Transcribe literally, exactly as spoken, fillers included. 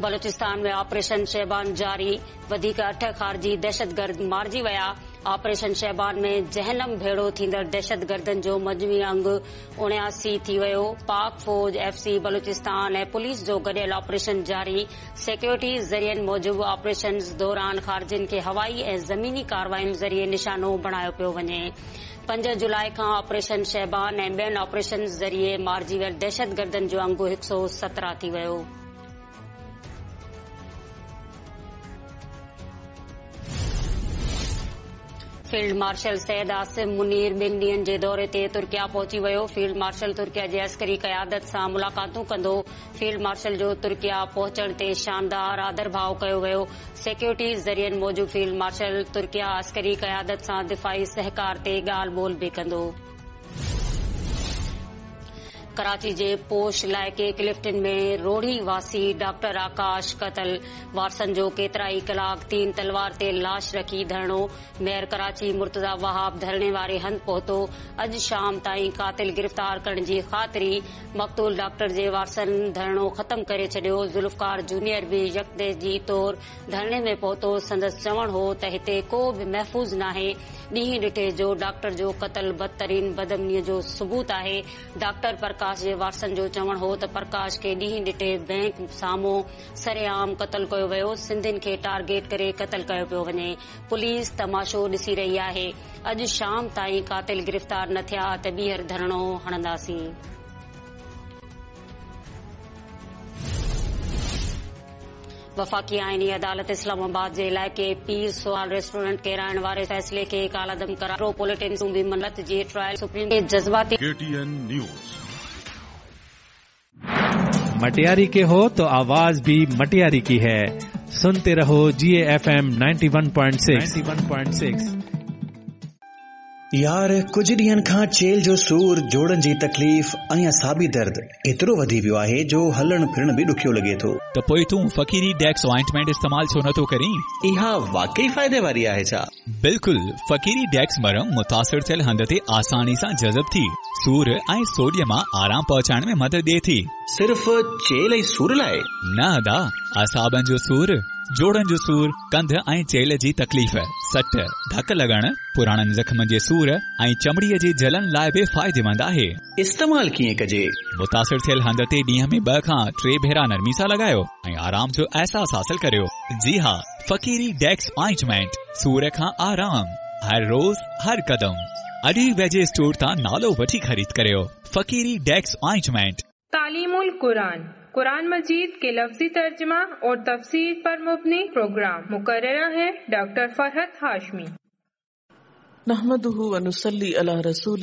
बलूचिस्तान में ऑपरेशन शहबान जारी, वधीक अठ ख़ारिजी दहशतगर्द मारिजी विया। ऑपरेशन शहबान में जहनम भेड़ो थींदड़ दहशतगर्दनि जो मजमूई अंग उणियासी थी वियो। पाक फौज, एफ सी बलूचिस्तान ऐं पुलिस जो गॾियल ऑपरेशन जारी। सिक्योरिटी ज़रियनि मूजिबि ऑपरेशन दौरान ख़ारिजियुनि खे हवाई ऐं ज़मीनी कार्रवाइयुनि ज़रिए निशानो बणायो पियो वञे। पंज जुलाई खां ऑपरेशन शहबान ऐं ॿियनि ऑपरेशन ज़रिए मारिजी वियल दहशतगर्दनि जो अंग हिकु सौ सतरहं थी वियो। फील्ड मार्शल सैयद आसिम मुनीर ॿिनि ॾींहनि जे दौरे ते तुर्किया पहुची वियो। फील्ड मार्शल तुर्किया जे अस्करी क़यादत सां मुलाक़ातूं कंदो। फील्ड मार्शल जो तुर्किया पहुचण ते शानदार आदरभाव कयो वियो। सिक्योरिटी ज़रियनि मूजिबि फील्ड मार्शल तुर्किया अस्करी क़यादत सां दिफ़ाई सहकार ते ॻाल्हि ॿोल बि कंदो। कराची जे पोश इलाइक़े क्लिफ्टन में रोड़ी वासी डॉक्टर आकाश क़तल, वारसनि जो केतिरा ई कलाक तीन तलवार ते लाश रखी धरणो। मेयर कराची मुर्तज़ा वहाब धरणे वारे हंधि पहुतो। अॼु शाम ताईं क़ातिल गिरफ़्तार करण जी ख़ातिरी। मक़तूल डॉक्टर जे वारसनि धरणो ख़त्म करे छॾियो। ज़ुल्फ़कार जूनियर बि यकजहती तौर धरणे में पहुतो। संदसि चवणु हो त हिते को बि महफ़ूज़ नाहे। ॾींहुं ॾिठे जो डॉक्टर जो क़तल बदतरीन बदअमनीअ जो सबूत आहे। डॉक्टर प्रकाश जे वारसनि जो चवणु हो त प्रकाश खे ॾींहुं ॾिठे बैंक साम्हूं सरेआम क़तल कयो वियो। सिंधियुनि खे टारगेट करे क़तल कयो पियो वञे। पुलिस तमाशो ॾिसी रही आहे। अॼु शाम ताईं क़ातिल गिरफ़्तार न थिया त ॿीहर धरणो हणंदासीं। वफ़ाक़ी आइनी अदालत इस्लामाबाद जे इलाइक़े पीर सोहाल रेस्टोरेंट केराइण वारे फ़ैसिले खे कालअदम करार। मेट्रोपॉलिटन बि मलत जी ट्रायल सुप्रीम जज़्बाती। के T N news. Matiari के हो तो आवाज भी मटियारी की है। सुनते रहो G F M ninety one point six one point six. यार कुझु ॾींहनि खां चेल जो सूर, जोड़नि जी तकलीफ़ ऐं असाबी दर्द एतिरो वधी वियो आहे जो हलणु फिरणु बि ॾुखियो लॻे थो। त पोइ तूं फ़क़ीरी डेक्स ऑइंटमेंट इस्तेमाल छो नथो करीं? इहा वाकई फ़ाइदे वारी आहे छा? बिल्कुल, फ़क़ीरी डेक्स मरम मुतासिर थियल हंध ते आसानी सां जज़ब थी सूर ऐं सोॾीअ मां आराम पहुचाइण में मदद ॾिए थी। सिर्फ़ चेल ऐं सूर लाइ? न अदा, असाबनि जो सूर, जोड़नि जो सूर, कंध ऐं चेल जी तकलीफ़, सट, धक लॻण, पुराणनि ज़ख़्मनि जे सूर ऐं चमड़ीअ जे जलन लाइ बि फ़ाइदेमंद आहे। इस्तेमाल कीअं कजे? मुतासिर थियल हंध ते ॾींहं में ॿ खां टे भेरा नरमी सां लॻायो ऐं आराम जो अहसास हासिल करियो। जी हा, फ़क़ीरी डेक्स ऑइंटमेंट, सूर खां आराम, हर रोज़ हर कदम। अॼु ई वेझे स्टोर तां नालो वठी ख़रीद करियो। फ़क़ीरी डेक्स ऑइंटमेंट। तालीमुल कुरान, कुरान मजीद के लफ्जी तर्जुमा और तफसीर पर मुबनी प्रोग्राम। मुकर्रर है डॉक्टर फरहत हाशमी। नहमदुहु व नुसल्ली अला रसूलिहिल